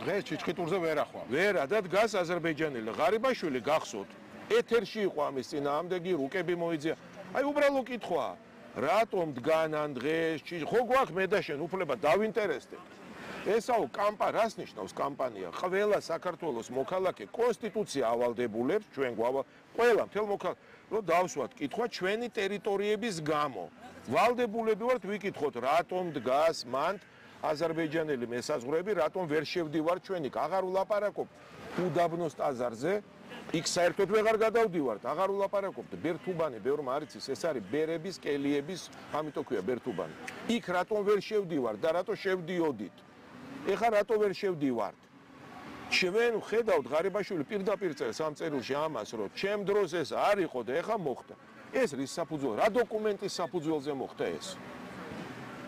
დღეს ჩიჩხიტურზე ვერ ახვალ. ვერა და დგას აზერბაიჯანელი ღარიბაშვილი გახსოვთ. ეთერში იყო ამის წინააღმდეგი რუკები მოიძია. აი უბრალო კითხვაა. რატომ დგანან დღეს ხო გვაქვს მე და შენ უფლება დავინტერესდეთ. ესაო რას ნიშნავს კამპანია? ყველა საქართველოს მოქალაქე კონსტიტუცია ავალდებულებს ჩვენ ყველა მთელ მოქალაქე რომ დავსვათ კითხვა ჩვენი ტერიტორიების გამო. ვალდებულები ვართ ვიკითხოთ რატომ დგას მანდ აზერბაიჯანელი მესაზღვრეები, რატომ ვერ შევდივარ ჩვენი? აღარ ვლაპარაკობ უდაბნოს ტაძარზე, იქ საერთოდ ვეღარ გადავდივართ, აღარ ვლაპარაკობთ ბერთუბანი, ბევრმა არ იცის, ეს არის ბერების, კელიების, ამიტომ ქვია ბერთუბანი. იქ რატომ ვერ შევდივართ და რატო შევდიოდით? ეხლა რატო ვერ შევდივართ? ჩვენ ხედავთ ღარიბაშვილი პირდაპირ წერს ამ წერილში ამას, რომ ჩემ დროს ეს არ იყო და ეხლა მოხდა. ეს რის საფუძველ? რა დოკუმენტის საფუძველზე მოხდა ეს?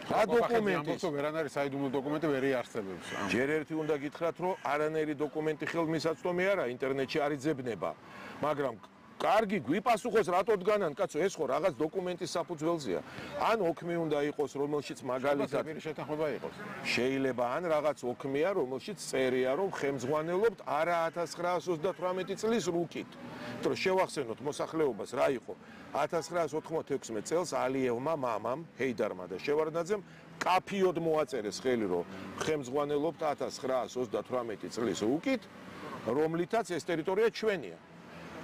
რა დოკუმენტი? ვერან არის საიდუმლო დოკუმენტი ვერ იარსებებს. ჯერ ერთი უნდა გითხრათ, რომ არანაირი დოკუმენტი ხელმისაწვდომი არა, ინტერნეტში არ იძებნება, მაგრამ კარგი გვიპასუხოს რატო დგანან, კაცო, ეს ხო რაღაც დოკუმენტის საფუძველზეა. ან ოქმი უნდა იყოს, რომელშიც მაგალითად შეთანხმება იყოს. შეიძლება ან რაღაც ოქმია, რომელშიც წერია, რომ ხელმძღვანელობთ არა 1938 წლის რუკით. რომ შევახსენოთ მოსახლეობას რა იყო 1996 წელს ალიევმა მამამ ჰეიდარმა და შევარდნაძემ კაფიოდ მოაწერეს ხელი რომ ხელმძღვანელობთ 1938 წლის რუკით რომლითაც ეს ტერიტორია ჩვენია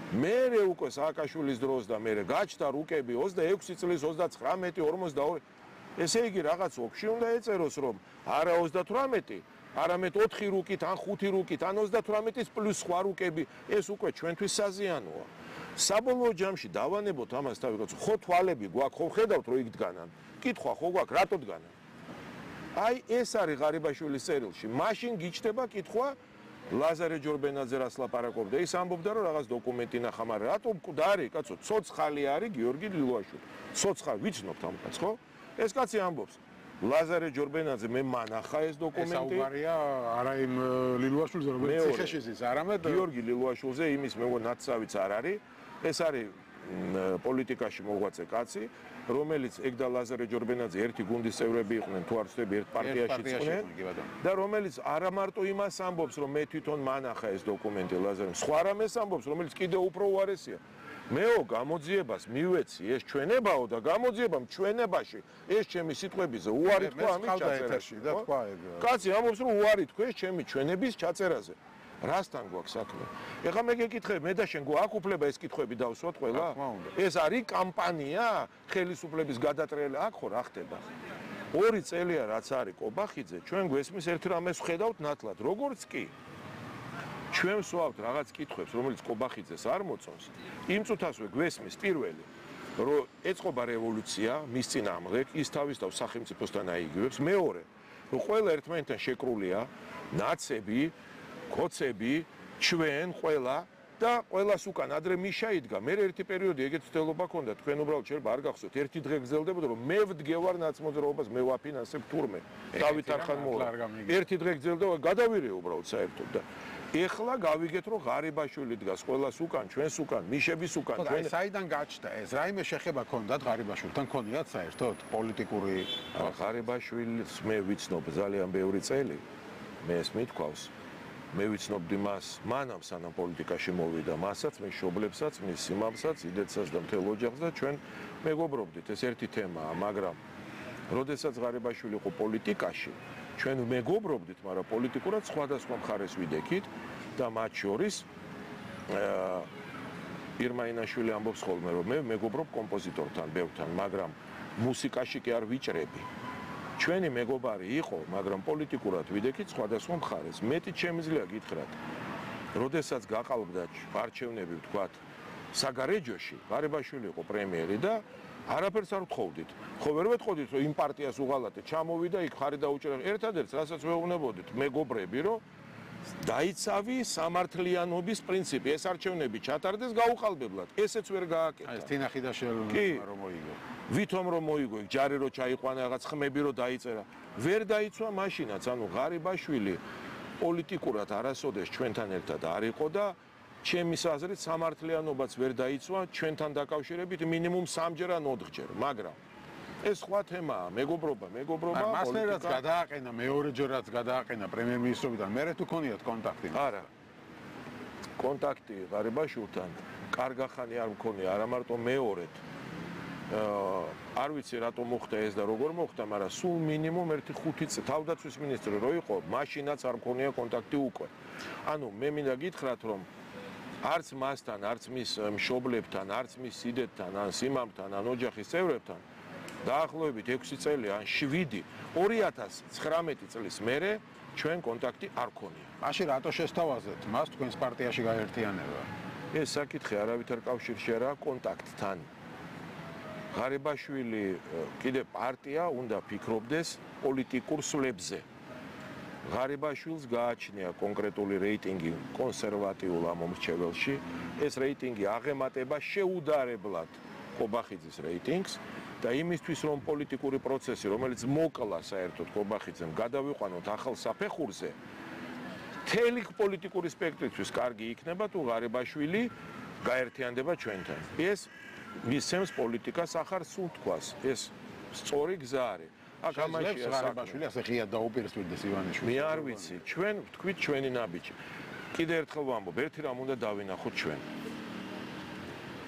მერე უკვე სააკაშვილის დროს და მერე გაჩნდა რუკები 26 წლის 39 42 ესე იგი რაღაც ოქში უნდა ეწეროს რომ არა 38 არამედ 4 რუკით ან 5 რუკით ან 38-ის პლუს სხვა რუკები ეს უკვე ჩვენთვის საზიანოა. საბოლოო ჯამში დავანებოთ ამას თავი კაცო, ხო თვალები გვაქვს, ხო ხედავთ რომ იქ დგანან. კითხვა ხო გვაქვს, რატო დგანან? აი ეს არის ღარიბაშვილის წერილში. მაშინ გიჩნდება კითხვა ლაზარე ჯორბენაძე რას ლაპარაკობდა, ის ამბობდა რომ რაღაც დოკუმენტი ნახა, მაგრამ რატო მკვდარი კაცო, ცოცხალი არის გიორგი ლილუაშვილი. ცოცხალი ვიცნობთ ამ კაცს, ხო? ეს კაცი ამბობს ლაზარე ჯორბენაძე მე მანახა ეს დოკუმენტი. ეს აუგარია არა იმ ლილუაშვილზე, რომელიც ციხეში ზის, არამედ გიორგი ლილუაშვილზე იმის მე ნაცავიც არ არის. ეს არის პოლიტიკაში მოღვაწე კაცი, რომელიც ეგ და ლაზარე ჯორბენაძე ერთი გუნდის წევრები იყვნენ, თუ არ ვცდები ერთ პარტიაში იყვნენ და რომელიც არა მარტო იმას ამბობს, რომ მე თვითონ მანახა ეს დოკუმენტი ლაზარემ, სხვა რამეს ამბობს, რომელიც კიდევ უფრო უარესია. მეო გამოძიებას მივეცი ეს ჩვენებაო და გამოძიებამ ჩვენებაში ეს ჩემი სიტყვებიზე უარი თქვა ამის ჩაწერაში და თქვა ეგ. კაცი ამბობს რომ უარი თქვა ეს ჩემი ჩვენების ჩაწერაზე. რასთან გვაქვს საქმე? ეხლა მე გეკითხები, მე და შენ გვაქვს უფლება ეს კითხვები დავსვათ ყველა? ეს არის კამპანია ხელისუფლების გადატრიალება? აქ ხო რა ხდება? 2 წელია რაც არის კობახიძე, ჩვენ გვესმის ერთ რამეს ვხედავთ ნათლად, როგორც კი ჩვენ ვსვავთ რაღაც კითხვებს, რომელიც კობახიძეს არ მოწონს. იმ წუთასვე გვესმის პირველი, რომ ეწყობა რევოლუცია, მის წინააღმდეგ, ის თავის თავს სახელმწიფოსთან აიგივებს. მეორე, რომ ყველა ერთმანეთთან შეკრულია, ნაცები, კოცები, ჩვენ ყველა და ყველას უკან ადრე მიშა იდგა. მე ერთი პერიოდი ეგეთ ცდელობა ქონდა, თქვენ უბრალოდ შეიძლება არ გახსოვთ, ერთი დღე გრძელდებოდა, რომ მე ვდგევარ ნაცმოძრაობას, მე ვაფინანსებ თურმე. დავით არხანმოლა. ერთი დღე გრძელდება, გადავირე უბრალოდ საერთოდ და ეხლა გავიგეთ რომ ღარიბაშვილი დგას ყველას უკან, ჩვენს უკან, მიშების უკან. ჩვენ საიდან გაჩნდა ეს? რაიმე შეხება ქონდათ ღარიბაშვილთან? ქონიათ საერთოდ პოლიტიკური ღარიბაშვილს მე ვიცნობ ძალიან ბევრი წელი. მე ეს მithქვავს. მე ვიცნობდი მას მანამ სანამ პოლიტიკაში მოვიდა, მასაც, მის მშობლებსაც, მის სიმამსაც, იდეცას და მთელ ოჯახს და ჩვენ მეგობრობდით. ეს ერთი თემაა, მაგრამ როდესაც ღარიბაშვილი იყო პოლიტიკაში ჩვენ მეგობრობდით, მაგრამ პოლიტიკურად სხვადასხვა მხარეს ვიდექით და მათ შორის ირმაინაშვილი ამბობს ხოლმე, რომ მე მეგობრობ კომპოზიტორთან, ბევრთან, მაგრამ მუსიკაში კი არ ვიჭრები. ჩვენი მეგობარი იყო, მაგრამ პოლიტიკურად ვიდექით სხვადასხვა მხარეს. მეტი შემიძლია გითხრათ, როდესაც გაყალბდა არჩევნები, ვთქვათ, საგარეჯოში, ღარიბაშვილი იყო პრემიერი და არაფერს არ ვთხოვდით. ხო ვერ ვეთხოვდით, რომ იმ პარტიას უღალატეთ, ჩამოვიდა იქ ხარი დაუჭერა. ერთადერთს, რასაც ვეუბნებოდით, მეგობრები, რომ დაიცავი სამართლიანობის პრინციპი, ეს არჩევნები ჩატარდეს გაუყალბებლად. ესეც ვერ გააკეთა. ეს თინახიდაშელმა რომ მოიგო. ვითომ რომ მოიგო, იქ ჯარი რო ჩაიყვანა, რაღაც ხმები რო დაიწერა. ვერ დაიცვა მაშინაც, ანუ ღარიბაშვილი პოლიტიკურად არასოდეს ჩვენთან ერთად არ იყო და ჩემის აზრით სამართლიანობაც ვერ დაიცვა ჩვენთან დაკავშირებით მინიმუმ 3-ჯერ ან 4-ჯერ, მაგრამ ეს სხვა თემაა, მეგობრობა, მასლერაც გადააყენა, მეორეჯერაც გადააყენა პრემიერ-მინისტრობიდან, მერე თუ ქონიათ კონტაქტი? არა. კონტაქტი ღარიბაშვილთან კარგახანი არ მქონია, არა მარტო მეორედ. არ ვიცი რატომ მოხდა ეს და როგორ მოხდა, მაგრამ სულ მინიმუმ 1-5 წელი თავდაცვის მინისტრი რო იყო, მაშინაც არ მქონია კონტაქტი უკვე. ანუ მე მინდა გითხრათ, რომ არც მასთან, არც მის მშობლებთან, არც მის სიდეთთან, ან სიმამთან, ან ოჯახის წევრებთან დაახლოებით 6 წელი ან 7, 2019 წლის მერე ჩვენ კონტაქტი არ ქონია. მაშინ რატო შესთავაზეთ მას თქვენს პარტიაში გაერთიანება? ეს საკითხი არავითარ კავშირში არა კონტაქტთან. ღარიბაშვილი კიდე პარტია უნდა ფიქრობდეს პოლიტიკურ სვლებზე. ღარიბაშვილს გააჩნია კონკრეტული რეიტინგი კონსერვატიულ ამომრჩეველში. ეს რეიტინგი აღემატება შეუდარებლად ყობახიძის რეიტინგს და იმისთვის რომ პოლიტიკური პროცესი, რომელიც მოკლა საერთოდ ყობახიძემ, გადავიყვანოთ ახალ საფეხურზე, მთელი პოლიტიკური სპექტრისთვის კარგი იქნება თუ ღარიბაშვილი გაერთიანდება ჩვენთან. ეს მისცემს პოლიტიკას ახალ სუნთქვას. ეს სწორი გზა არის. აქ ამაშია ღარიბაშვილი ასე ღიად დაუპირისპირდეს ივანიშვილს. მე არ ვიცი, ჩვენ ვთქვით ჩვენი ნაბიჯი. კიდე ერთხელ ვამბობ, ერთი რამ უნდა დავინახოთ ჩვენ.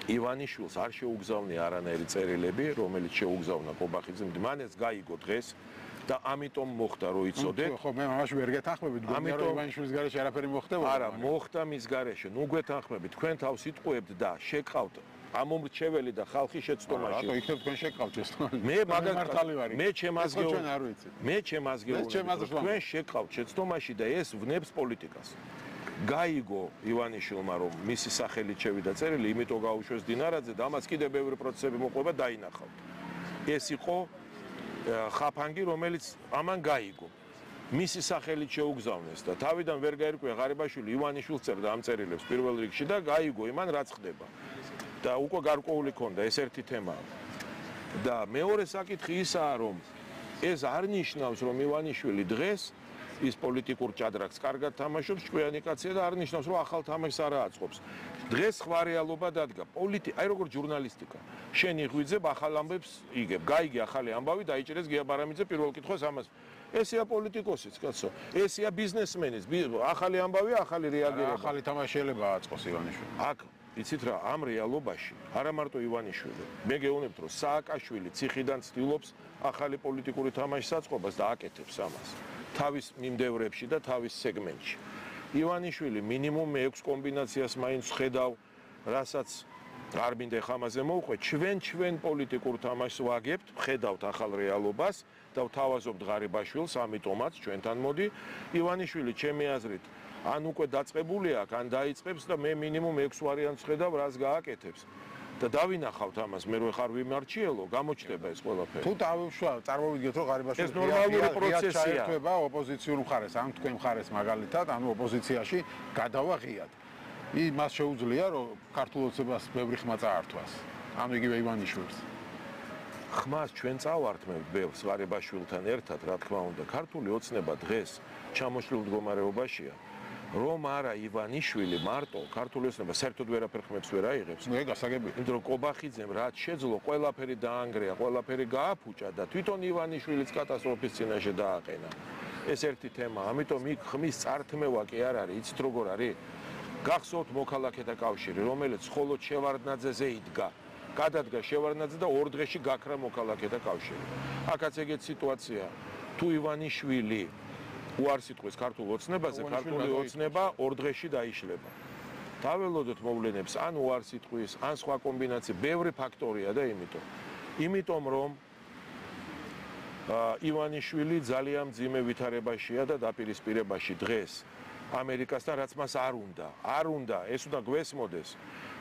ივანიშვილს არ შეუგზავნია არანაირი წერილები, რომელიც შეუგზავნა ყობახიძემ, მან ეს გაიგო დღეს და ამიტომ მოხდა რო იცოდეთ. ხო, მე მამაში ვერ გეთანხმებით, გონია რომ ივანიშვილის გარეშე არაფერი მოხდებოდა. არა, მოხდა მის გარეშე. ნუ გვეთანხმებით, თქვენ თავს იტყუებთ და შეკავთ ამომრჩეველი და ხალხი შეცდომაში. რატო იქნებ თქვენ შეკავთ ეს? მე მაგათალი ვარ. მე ჩემაზგეო. ჩვენ არ ვიცი. მე ჩემაზგეო. თქვენ შეკავთ შეცდომაში და ეს ვნებს პოლიტიკას. გაიგო ივანიშვილმა რომ მისი სახელით შევიდა წერილი, იმიტომ გაუშვეს დინარაძე და ამას კიდევ ბევრი პროცესები მოყვება დაინახავთ. ეს იყო ხაფანგი, რომელიც ამან გაიგო. მისი სახელით შეუგზავნეს და თავიდან ვერ გაერკვია ღარიბაშვილი ივანიშვილს წერდა ამ წერილებს პირველ რიგში და გაიგო იმან რაც ხდება. და უკვე გარკვეული ქონდა ეს ერთი თემაა. და მეორე საკითხი ისაა, რომ ეს არ ნიშნავს, რომ ივანიშვილი დღეს ის პოლიტიკურ ჭადრაკს კარგად თამაშობს, ჭკვიანი კაცია და არ ნიშნავს, რომ ახალ თამაშს არ აწყობს. დღეს სხვა რეალობა დადგა. აი როგორ ჟურნალისტიკა. შენ იღვიძებ ახალ ამბებს იგებ. გაიგე ახალი ამბავი დაიჭერეს გია ბარამიძე პირველ კითხვას ამას. ესეა პოლიტიკოსიც, კაცო. ესეა ბიზნესმენის. ახალი ამბავი, ახალი რეაგირება. ახალი თამაშიელება აწყოს ივანიშვილი. აქ იცით რა, ამ რეალობაში არა მარტო ივანიშვილი. მე გეუბნებთ, რომ სააკაშვილი ციხიდან ცდილობს ახალი პოლიტიკური თამაშის აწყობას და აკეთებს ამას. თავის მიმდევრებში და თავის სეგმენტში. ივანიშვილი მინიმუმ 6 კომბინაციას მაინც ხედავ, რასაც არ მინდა ხამაზე მოვყვე, ჩვენ პოლიტიკურ თამაშს ვაგებთ, ხედავთ ახალ რეალობას და ვთავაზობთ ღარიბაშვილს, ამიტომაც ჩვენთან მოდი. ივანიშვილი ჩემი აზრით ან უკვე დაწყებული აქვს, ან დაიწყებს და მე მინიმუმ 6 ვარიანტს ხედავ, რას გააკეთებს. და დავინახავთ ამას, მე რო ხარ ვიმარჩიელო, გამოჩნდება ეს ყველაფერი. თუ წარმოვიდგეთ, რომ ღარიბაშვილი ეს ნორმალური პროცესია. ჩაერთვება ოპოზიციურ მხარეს, ან თქვენ მხარეს მაგალითად, ანუ ოპოზიციაში გადავა ღიად. მას შეუძლია, რომ ქართულ ოცნებას ბევრი ხმა წაართვას. ანუ იგივე ივანიშვილს. ხმას ჩვენ წავართმევთ ბევრს ღარიბაშვილთან ერთად, რა თქმა უნდა, ქართული ოცნება დღეს ჩამოშლილ მდგომარეობაშია. რომ არა ივანიშვილი მარტო ქართული ოცნება საერთოდ ვერაფერ ხმებს ვერ აიღებს. ნუ ეგ გასაგებია. იმიტომ რომ ყობახიძემ რაც შეძლო, ყველაფერი დაანგრია, ყველაფერი გააფუჭა და თვითონ ივანიშვილიც კატასტროფის წინაშე დააყენა. ეს ერთი თემა, ამიტომ იქ ხმის წართმევა კი არ არის, იცით როგორ არის? გახსოვთ მოქალაქეთა კავშირი, რომელიც მხოლოდ შევარდნაძეზე იდგა. გადადგა შევარდნაძე და 2 დღეში გაქრა მოქალაქეთა კავშირი. აქაც ეგეთ სიტუაცია. თუ ივანიშვილი უარს იტყვის ქართულ ოცნებაზე, ქართული ოცნება 2 დღეში დაიშლება. დაველოდოთ მოვლენებს, ან უარს იტყვის, ან სხვა კომბინაცია, ბევრი ფაქტორია და იმიტომ რომ ივანიშვილი ძალიან მძიმე ვითარებაშია და დაპირისპირებაში დღეს ამერიკასთან, რაც მას არ უნდა, ეს უნდა გვესმოდეს.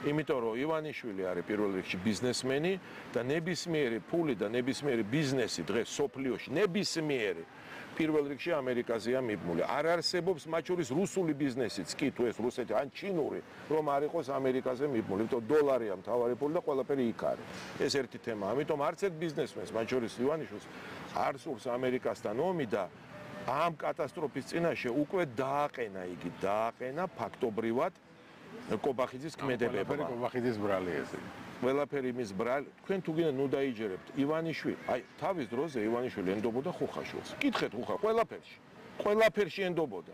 იმიტომ რომ ივანიშვილი არის პირველ რიგში ბიზნესმენი და ნებისმიერი ფული და ნებისმიერი ბიზნესი დღეს სოფლიოში ნებისმიერი პირველ რიგში ამერიკაზეა მიბმული. არ არსებობს მათ შორის რუსული ბიზნესიც კი თუ ეს რუსეთი ან ჩინური რომ არ იყოს ამერიკაზე მიბმული. იმიტომ დოლარია მთავარი ფული და ყველაფერი იქ არის. ეს ერთი თემა. ამიტომ არც ერთ ბიზნესმენს მათ შორის ივანიშვილს არ სურს ამერიკასთან ომი და ამ კატასტროფის წინაშე უკვე დააყენა ფაქტობრივად ყობახიძის ქმედებებმა. ყობახიძის ბრალი ესე. ყველაფერი მის ბრალი, თქვენ თუ გინდა ნუ დაიჯერებთ ივანიშვილი, აი თავის დროზე ივანიშვილი ენდობოდა ხუხაშვილს. კითხეთ ხუხა ყველაფერში ენდობოდა.